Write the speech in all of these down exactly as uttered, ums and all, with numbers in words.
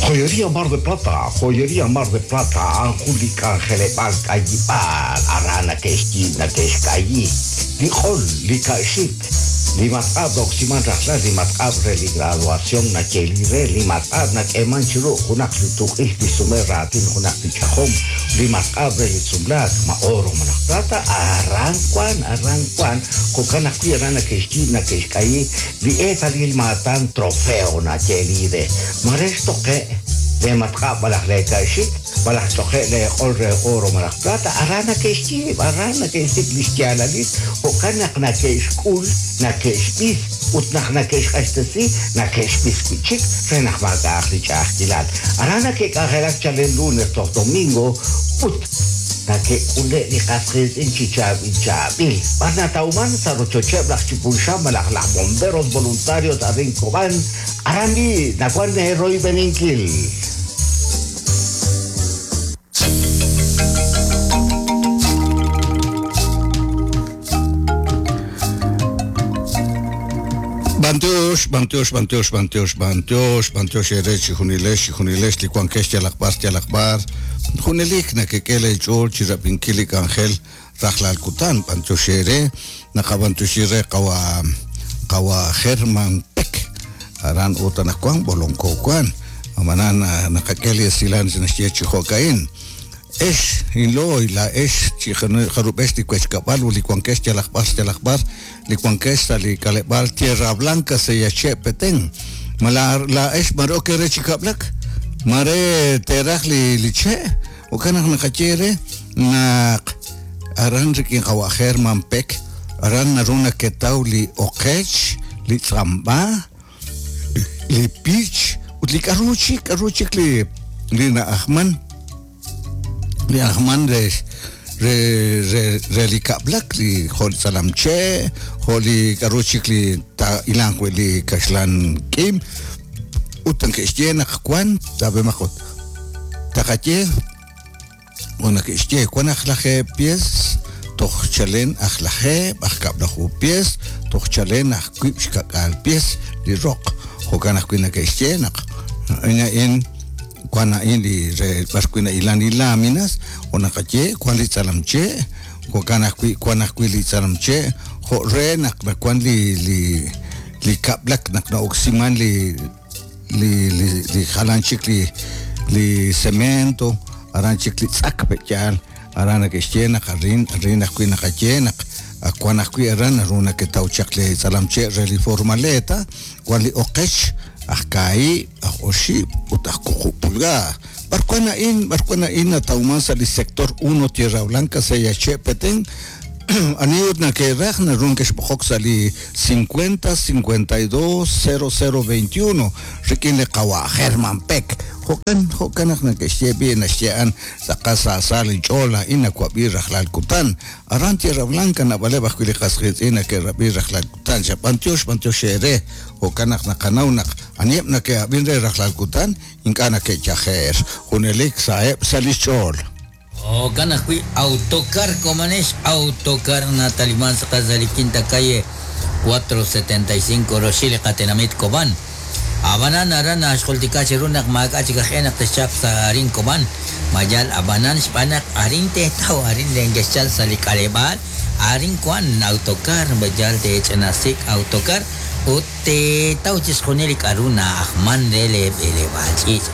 Joyería Mar de Plata, Joyería Mar de Plata, anjun li k'anjeleb'aal k'ayib'aal, aran nake'xyiib' nake'xk'ayi, li q'ol, li ka'xik, li matq'ab' roksiman rajlal, li matq'ab' re li graduación nayeeli re, li matq'ab' nak'eeman chiru junaq li tuq'ix li sume raatin junaq li ch'ajom, li matq'ab' re li sumlaak, ma oro malaj plata, aran wan, aran wan, jo'kan ajwi' aran nake'xyiib' nake'xk'ayi, li eetalil maatan trofeo nayeeli re, mare xtoqe' le matq'ab' malaj le ka'xik, malaj ch'oqe' le q'ol re oro malaj plata, aran nake'xyiib', aran nake'xsik' li xyaalalil, jo'kan naq nake'xk'ul, nake'xb'is, ut naq nake'xq'axtesi, nake'xb'is wi' chik re naq maak'a'aq li ch'a'ajkilal. Aran nake'k'anjelak chalen lunes toj domingo, ut nake'k'ule' li qas qiitz'in chi chaab'il chaab'il. B'ar natawman sa' rochocheb' laj Chipulxan malaj laj bomberos voluntarios arin Cobán, aran li nawan royb'eninkil. Bantiox, bantiox, bantiox, bantiox, bantiox, bantiox ere chijunilex, chijunilex, li wankex yalaq bar, yalaq bar. Junelik nakek'e ch'ool chi rab'inkil li k'anjel rajlal kutan, bantiox ere, naqabantiox ere qawa qawa German Peck, aran ut anaqwan bolonko wan, amanan naqak'e li esilan naxye chi jo'ka'in. Ex inlooy la ex chi jarub'ex li kuechkab'al u li wankex yalaq bar, yalaq bar, li wankex sa' li k'aleb'aal Tierra Blanca seyache' Petén. Ma la, la ex mare ok re chi kab'lak, mare teraj li li che', jo'kan naq naqaye re naq aran rik'in qawa German Peck, aran naru naketaw li oqech, li tz'amb'a, li pich, ut li k'aru chik, k'aru chik li li na'ajman, li ajman re re re re li kab'lak, li jo' li tz'alamche', jo' li k'aru chik li ta'ilanq wi' li kaxlan k'im, ut nake'xye naq wan tab'emaq ut taqaye o nake'xye wan aj lajeeb' pies toj chalen aj lajeeb', aj kab'laju pies toj chalen aj wiib' xkak'aal pies li roq. Jo'kan ajwi' nake'xye naq a'in wan a'in li re b'ar wi' na'ilan li láminas o naqaye wan li tz'alamche', jo'kan ajwi' wan ajwi' li tz'alamche' jo' re naq wan li li li kab'lak naq na'oksiman li li li li jalan chik li li cemento, aran chik li tz'ak pe'yaal, aran nake'xye naq arin arin ajwi' naqaye naq wan ajwi' aran naru naketaw chaq li tz'alamche' re li formaleta, wan li oqech aj kaahib', aj oxib' ut aj wuqub' pulgada. B'ar wan a'in, b'ar wan a'in natawman sa' li sector uno Tierra Blanca Seyache' Petén. Ani ut nake'raj naru neke'xb'oqok sa' li cincuenta cincuenta y dos cero cero veintiuno rik'in li qawa German Peck. Jo'kan, jo'kan naq nake'xye b'i naxye'an tz'aqal sa' li ch'ool a'in nawab'i rajlal kutan. Aran Tierra Blanca naab'aleb' ajwi' li qas qiitz'in nake'rab'i rajlal kutan. Xa b'antiox, b'antiox ere. Jo'kan naq naqanaw naq aniheb' nake'ab'in re rajlal kutan ink'a' nake'yajeer. Junelik sa'eb' sa' li xch'ool. Jo'kan ajwi' autocar Comanex, autocar Nataliman sa li quinta calle cuatro setenta y cinco Roxil qatenamit Cobán. Abanan aran axjultika chiru naq maak'a chik aj e naq texchaq sa arin Cobán. Mayal abanan xb'aan naq arin teetaw arin lenkexchal sa li k'aleb'aal, arin wan autocar mayal teech'inasik autocar ut teetaw chixjunil li k'aru na'ajman re leeb'eleb'aal ch'iich'.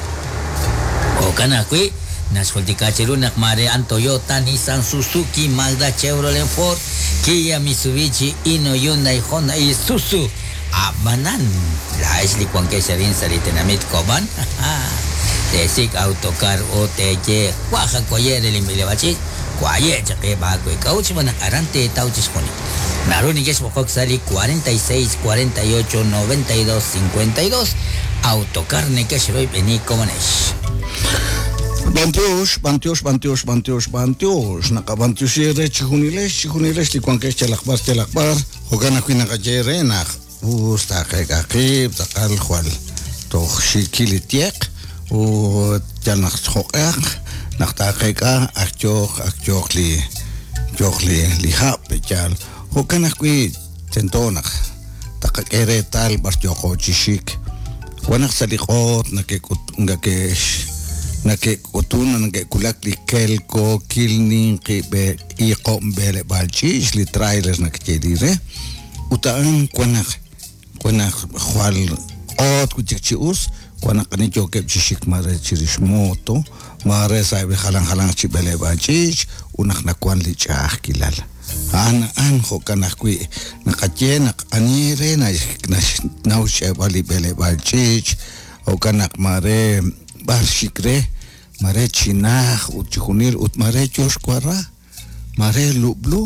Jo'kan ajwi' naxjultika chiru naq mare an Toyota, Nissan, Suzuki, Mazda, Chevrolet, Ford, Kia, Mitsubishi, Hino, Hyundai, Honda, Isuzu. Abanan, la ex li wankex arin sa li tenamit Cobán. Tesik autocar o teye waja koyere li milebachit, kwaye chaqe ba kwe kauch banak arante tauchis joni. Naru nikex bokok sali cuarenta y seis, cuarenta y ocho, noventa y dos, cincuenta y dos. Autocar nekex roy beni Comanex. Bantiox, bantiox, bantiox, bantiox, bantiox. Naqabantiox ere chijunilex, chijunilex li wankex yalaq bar, yalaq bar. Jo'kan ajwi' naqaye re naq us taqek'aqib', tz'aqal jwal toj xikil li tieq, ut yal naq jo'q'eq, naq taqek'a ak yooq, ak yooq li, yooq li, li hab', yal. Jo'kan ajwi' tento naq taqak'e reetal b'ar yooqo chi xik. Wan naq sa' li q'oot nakek'ut nakex nakek'utun nake'kulak li kelkookil ninqi b'e iqom b'eleb'aal ch'iich li trailer nakeyeli re ut a'an wan naq wan naq jwal q'oot wi' chik chi us wan naq ani yookeb' chi xik mare chirix moto mare sa'eb' li jalan jalanq chi b'eleb'aal ch'iich ut naq nawan li ch'a'ajkilal. A'an a'an jo'kan ajwi' naqaye naq ani re naxnaw xch'eeb'al li b'eleb'aal ch'iich jo'kan naq mare b'ar xik re mare chinaj ut chi junil ut mare yo xwara mare lub'lu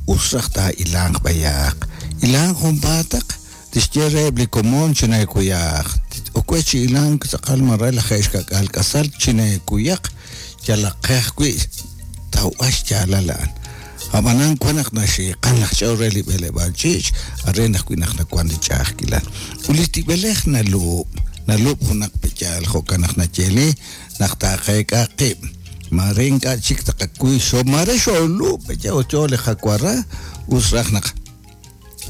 us raj taa'ilanq b'ayaq ilanq junpaataq tixye reheb' li komon chineekuyaq okwe chi ilank tz'aqal mare lajeeb' xka'k'aal k'asal chineekuyaq yalaq qe ajwi' tawb'al xyaalal a'an. Ab'anan wan naq naxiiqan laj ch'ool re li b'eleb'aal ch'iich are ajwi' naq nawan li ch'a'ajkilal. Ut li tib'elej nalub' nalub' junaq peyaal jo'kan naq nayeli naq taaqeek'a qib' mare ink'a' chik taqakuy xo mare xolub' peyaal ut yo li qawara us raj naq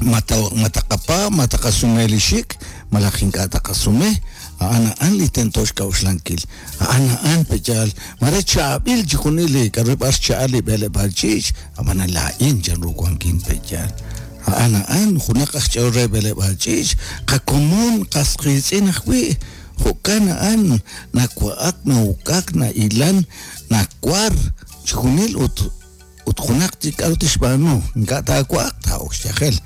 mataqapa mataqasume li xik malaj ink'a' taqasume a'an a'an li tento xk'a'uxlankil a'an a'an peyaal mare chaab'il chi junil li k'a'ru b'ar xcha'al li b'eleb'aal ch'iich ab'anan laa'in chanru wankin peyaal a'an a'an junaq aj ch'ool re b'eleb'aal ch'iich qakomon qasqiitz'in ajwi' jo'kan a'an nawa'ak nawuk'ak na'ilan nawar chi junil ut ut junaq chi k'a'ru tixb'aanu ink'a' taawa'aq taa'ok xyajel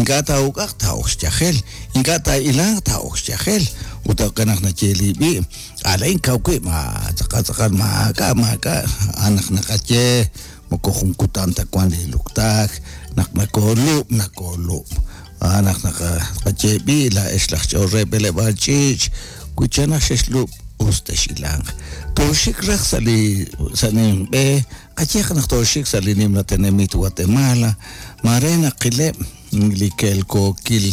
ink'a' taa'uk'aq taa'ok xyajel ink'a' taa'ilanq taa'ok xyajel ut jo'kan naq nayeli b'i' alain kaw wib' ma tz'aqal tz'aqal maak'a' maak'a' a'an naq naqaye moko jun kutan ta wan li luktaak naq nakoolub' nakoolub' a'an naq naqaye b'i' laa'ex laj ch'ool re b'eleb'aal ch'iich wi chanaj xexlub' us texilanq tooxik raj sa' li sa' ninb'e qayeq naq tooxik sa' li nimla tenamit Guatemala mare naqileb' li kelkookil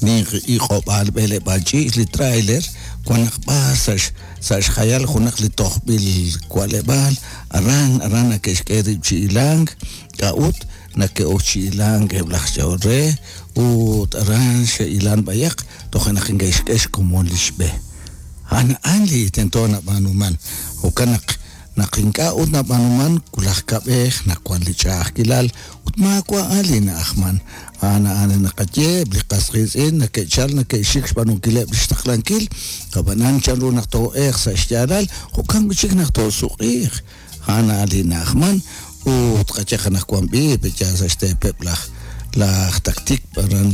ninqi iq'ob'aal b'eleb'aal ch'iich li trailer wan naq b'ar sa' sa' xjayal junaq li tojb'il wa'leb'aal aran aran nake'xk'e rib' chi ilank k'a'ut nake'ok chi ilank eb' laj ch'ool re ut aran xe'ilan b'ayaq toja' naq inke'xk'e xkomon li xb'e. A'an a'an li tento nab'aanuman jo'kan naq naq ink'a' ut nab'aanuman kulaj kab'ej naq wan li ch'a'ajkilal ut maawa' a'an li na'ajman a'an a'an naqaye eb' li qasqiitz'in nake'chal nake'xik xb'aanunkileb' li xtaqlankil ab'anan chanru naq too'eeq sa' xyaalal jo'kan wi' chik naq toosuq'iiq a'an a'an li na'ajman ut qayeq anaqwan b'i peyaal sa' xteepeb' laj laj taktik aran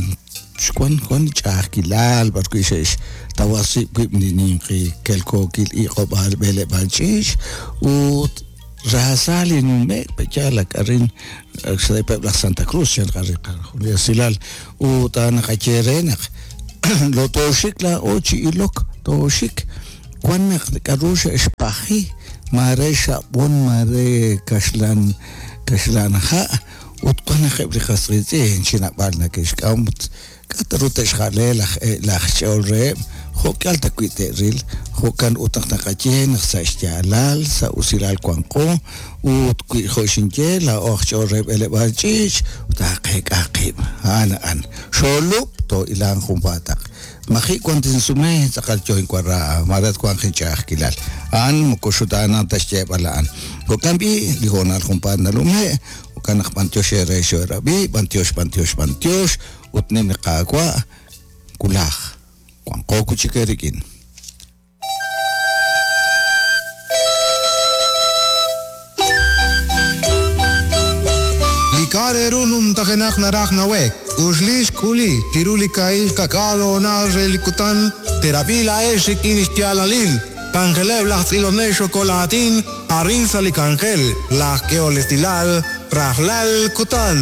xwan wan ch'a'ajkilal b'ar wi' xe'x tawasib' wib' li ninqi kelkookil iq'ob'aal b'eleb'aal ch'iich ut raasa li nume'k peyaal ak arin xteepeb' laj Santa Cruz chan li esilal ut a'an naqaye re naq lo tooxik laa'o chi ilok tooxik wan naq k'a'ru xe'xpaji mare xab'on mare kaxlan kaxlan ha' ut wan naq eb' li qasqiitz'in chinab'al nake'xk'am ut k'a'ru te'xja'le laj laj ch'ool reheb' jo'k'al ta wi' te'ril jo'kan ut naq naqaye naq sa' xyaalal sa' usilal wanqo ut wi' jo' xinye laa'o aj ch'ool reheb' b'eleb'aal ch'iich ut taaqeek'a qib' a'an a'an xolub' too'ilanq junpaataq maji' wan tinsume tz'aqal yo inwara mare twanq inch'a'ajkilal a'an moko xutaanan ta xyeeb'al a'an jo'kan b'i li hoonal junpaat nalume' jo'kan naq b'antiox eere xoerab'i b'antiox b'antiox b'antiox ut nim li qaawa' kulaj wanqo wi' chik eerik'in. Li k'a'ru numtajenaq naraj nawek uxlix k'uli chiru li ka'il kak'al hoonal re li kutan terab'i la'ex rik'in xyaalalil k'anjeleb' laj tz'ilonel xokolatin arin sa' li k'anjel laj k'ehol estilal rajlal kutan.